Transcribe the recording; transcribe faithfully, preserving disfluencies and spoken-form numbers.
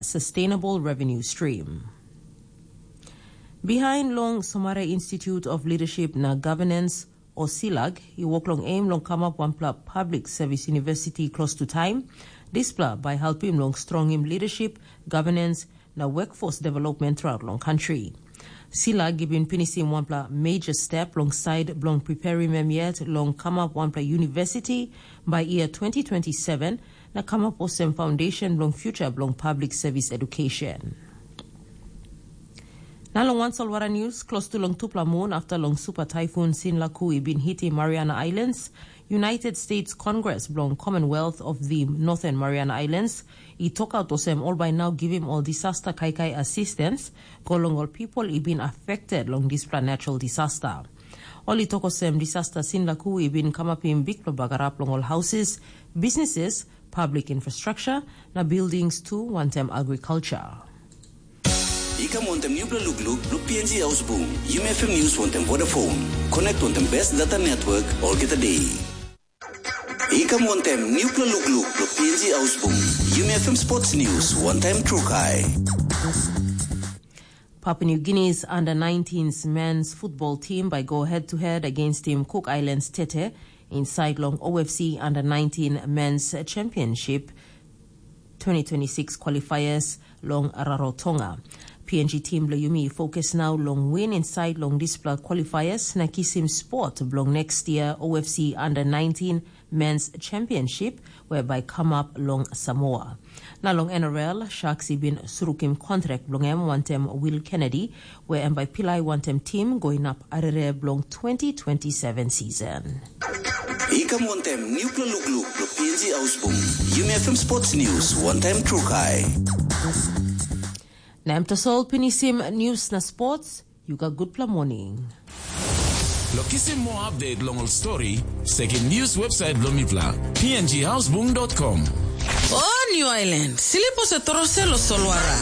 sustainable revenue stream. Behind long Somare Institute of Leadership na Governance, o SILAG, i wok long aim long kamap wanpela public service university close to time. Dispela bai helpim long strongim leadership, governance, na workforce development throughout long country. SILAG i bin pinisim wanpela major step long side bilong preparim em yet long kamap wanpela university by year twenty twenty-seven, na kamap olsem foundation bilong future bilong public service education. Na long wan solwara news, close to long tupela mun after long super typhoon Sinlaku i bin hitim Mariana Islands, United States Congress bilong Commonwealth of the Northern Mariana Islands i tokaut olsem ol bai nau givim ol disaster kaikai assistance go long ol people i bin affected long dispela natural disaster. Ol i tok olsem disaster Sinlaku i bin kamapim bikpela bagarap long ol houses, businesses, public infrastructure, na buildings tu wantaim agriculture. I kam wantaim nupela lukluk bilong P N G Ausbung, Yumi F M News wantaim Vodafone. Connect wantaim best data network olgeta day. I kam wantaim nupela lukluk bilong P N G Ausbung, Yumi F M Sports News wantaim Trukai. Papua New Guinea's under nineteens men's football team by go head to head against Team Cook Islands Tete inside long O F C under nineteen men's championship twenty twenty-six qualifiers long Rarotonga. P N G team bilong Yumi focus now long win inside long dispela qualifiers na kisim spot bilong next year O F C under nineteen men's championship whereby come up long Samoa. Na long N R L, Sharks i bin surukim kontrak bilong em wantaim Will Kennedy, where em bai pilai wantaim tim go inap arere bilong twenty twenty-seven season. I kam wantaim nupela lukluk bilong P N G Ausbung, Yumi F M Sports News wantaim Trukai. Na em tasol pinisim news na sports, yu gat gutpela morning. Lo kisim moa update long ol story, sekim news website bilong mipela, P N G Ausbung dot com. O New Island, silipo se torose lo solwara.